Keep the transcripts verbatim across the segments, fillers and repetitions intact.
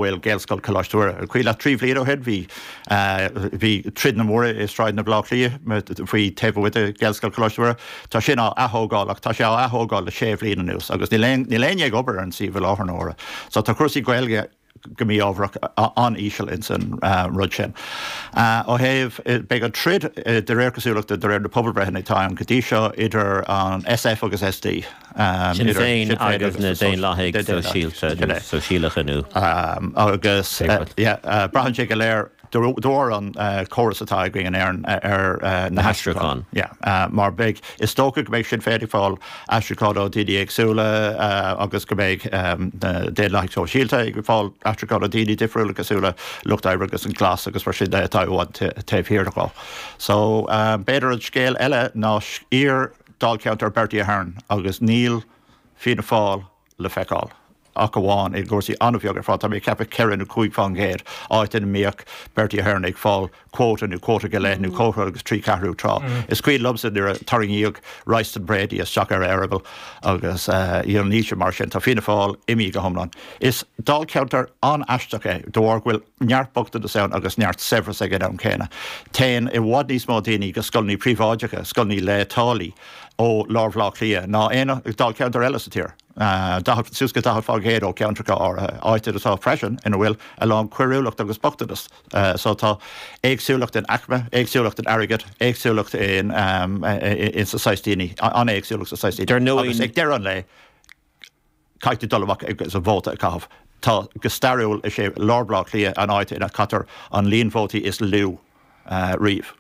bhfuil Gaelscoil Choláiste Mhuire. Cuimhin leat trí bhliain ó shin bhí bhí troid mhór i sráideanna Bhaile Átha Cliath faoi taobh amuigh de Ghaelscoil Choláiste Mhuire. Tá sin á atógáil ach tá sé á atógáil le sé bhliain anuas agus níl níl éinne ag obair ar an suíomh i láthair na huaire. So tá cúrsaí Gaeilge go mí-ámharach an-íseal in san rud sin. Ó thaobh beidh an troid de réir cosúlachta de réir na pobalbhreitheanna atá ann go dtí seo idir an SF agus SD. Sinn Féin agus na Daonlathaigh Sóisialta Sóisialacha nó. agus braitheann sé go léir dóir an córas atá againn in Éirinn ar na haistriúcháin. Mar beidh is dócha go mbeidh Sinn Féin ag fáil aistriúcháin ó daoine éagsúla agus go mbeidh na Daonlathaigh Sóisialta ag fáil aistriúcháin ó daoine difriúla cosúil le Lucht Oibre agus an Glas agus mar sin de atá taobh thiar de. So b'fhéidir an scéal eile ná iar dáilcheantar Bertie Ahern agus níl Fianna Fáil le feiceáil. ach amháin i gcúrsaí an-bheag ar fad tá mé ceapadh ceithre nó cúig faoin gcéad áit ina mbíodh Bertie Ahern ag fáil quota nó quota go leith nó quota agus trí ceathrú tráth. Is cuimhin liomsa nuair a tarraingíodh Royston Brady isteach ar eireaball agus níl sé mar sin tá Fianna Fáil imithe go hiomlán. Is dáilcheantar an-aisteach é de bharr go bhfuil neart bochtanas ann agus neart saibhreas ag an am céanna. Téann i bhfad níos mó daoine go scoileanna príobháideacha, scoileanna le táillí ó lár Bhaile Átha Cliath ná aon dáilcheantar eile sa tír. Suas go daichead faoin gcéad ó cheantracha áirithe áit atá freisin ina bhfuil a lán coiriúlacht agus bochtanas. So tá éagsúlacht in aicme, éagsúlacht in airgead, éagsúlacht in in sa daoine an-éagsúlacht sa daoine agus ag deireadh an lae caithfidh dul amach agus a vóta a chaitheamh. Tá go stairiúil is é lár Bhaile Átha Cliath an áit ina caitear an líon vótaí is lú riamh.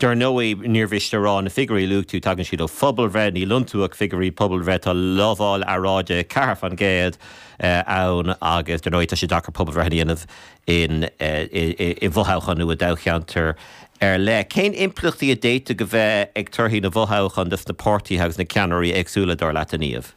Dar ndóigh níor mhiste rá na figiúirí luaigh tú tagann siad ó phobalbhreith níl iontu ach figiúirí pobalbhreith tá lamháil earráide ceathair faoin gcéad ann agus dar ndóigh tá sé deacair pobalbhreith a dhéanamh in i bhfothoghchán nó i dtoghcheantar ar leith. Cén impleachtaí a d'fhéadfadh go bheith ag torthaí na bhfothoghchán dos na páirtithe agus na ceannairí éagsúla dar leat Niamh.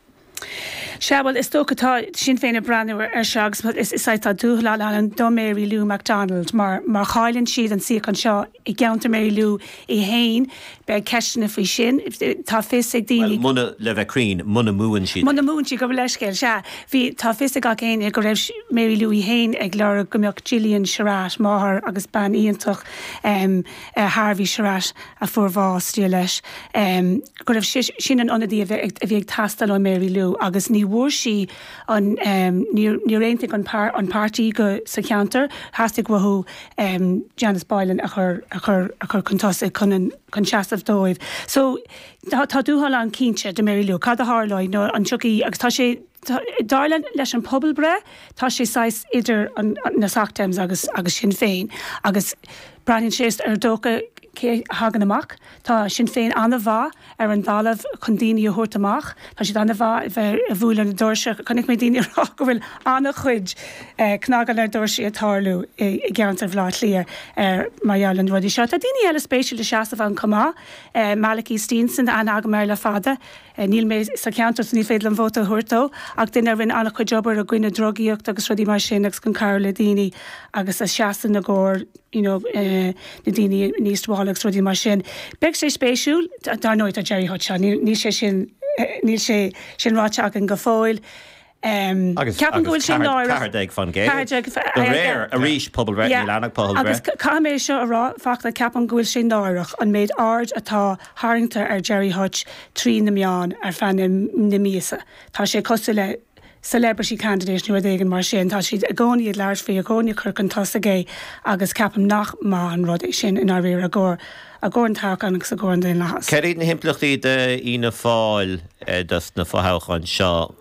Sea bhuel is dócha tá Sinn Féin ag breathnú ar seo agus is tá dúshlán ann do Mary Lou McDonald mar mar chailleann siad an suíochán seo i gceantar Mary Lou í féin beidh ceisteanna faoi sin tá fios ag daoine Muna le bheith cruinn muna mbuann siad. Muna mbuann siad go leithscéal sea bhí tá fios ag gach éinne go raibh Mary Lou í féin ag lorg go mbeadh Gillian Sherratt máthair agus bean iontach um, uh, Harvey Sherratt a fuair bás Dia leis um, go raibh sin an ionadaí a bhí ag teastáil ó Mary Lou agus ní bhfuair sí an um, níor aontaigh an, par, an páirtí go sa cheantar theastaigh uathu um, Janice Boylan a chur a chur a chur chun tosaigh chun chun seasamh dóibh. So tá, tá dúshlán ann cinnte do Mary Lou, cad a tharlóidh nó an tiocfaidh agus tá sé dar leis an pobalbhreith tá sé saghas idir an, na Soc Dems agus agus Sinn Féin agus braitheann sé ar dócha cé thagann amach Tá Sinn Féin an-mhaith ar an talamh chun daoine a thabhairt amach Tá siad an-mhaith bheith ag bualadh na doirse chonaic mé daoine rá go bhfuil an-chuid eh, cnagáil ar doirse ag tarlú i gceantar Bhaile Átha Cliath ar mar gheall an rudaí seo. Tá daoine eile spéisiúil le seasamh ann chomh maith eh, Malachy Steenson an agam ar le fada. Eh, níl mé sa cheantar ní féidir liom vóta a thabhairt dó ach duine a rinne an-chuid obair i gcoinne drugaíocht agus rudaí mar sin agus chun cabhrú le daoine agus a seasann i gcomhair you know, uh, na daoine níos wall agus rudaí mar sin. Beidh sé spéisiúil dar ndóigh tá Gerry Hutch níl sé sin níl sé sin ráite againn go fóill. Um, agus ceapaim go bhfuil sé náireach déag faoin gcéad réir arís pobalbhreith níl ann ach Agus caithfidh mé seo a rá Fachtna ceapaim go bhfuil sé náireach an méid aird atá tarraingthe ar Gerry Hutch trí na meáin ar feadh na, na míosa. Tá sé cosúil le celebrity candidate nó éigin mar sin tá siad i gcónaí ag labhairt faoi i gcónaí ag cur chun tosaigh é agus ceapaim nach maith an rud é sin in áiríre i gcomhair i gcomhair an toghchán agus i gcomhair an daonlathas. Céard iad na himpleachtaí d'Fhianna Fáil dos na fothoghcháin seo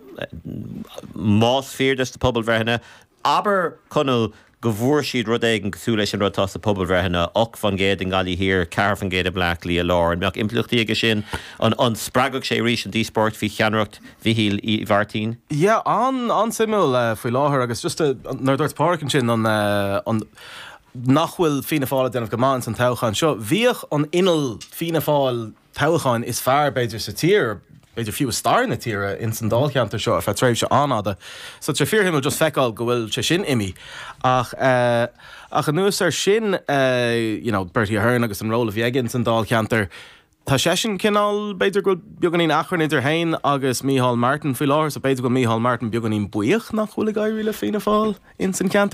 más fíor dos na pobalbhreitheanna, abair Conall go bhfuair siad rud éigin cosúil leis an rud atá sa pobalbhreitheanna ocht faoin gcéad i nGaillimh Thiar ceathair faoin gcéad i mBleá Cliath Lár an mbeadh impleachtaí aige sin an an spreagfadh sé arís an díospóireacht faoi cheannaireacht Mhichíl Uí Mhairtín? Yeah, an an-suimiúil uh, faoi láthair agus just uh, nuair dúirt Pádraig ansin an uh, an nach bhfuil Fianna Fáil ag déanamh go maith san toghchán seo. Bhíodh an inneall Fianna Fáil toghcháin is fearr b'fhéidir sa tír b'fhéidir fiú stair na tíre in san dáilcheantar seo ar feadh tréimhse an-fhada. So sé fíorshuimiúil just feiceáil go bhfuil sé sin imithe ach uh, ach anuas ar sin uh, you know, Bertie Ahern agus an ról a bhí aige san dáilcheantar Tá seisean cineál b'fhéidir go bhfuil beagáinín achrann idir féin agus Micheál Martin faoi láthair, so b'fhéidir go Micheál Martin beagáinín buíoch nach bhfuil ag éirí le Fianna Fáil ins an ceantar.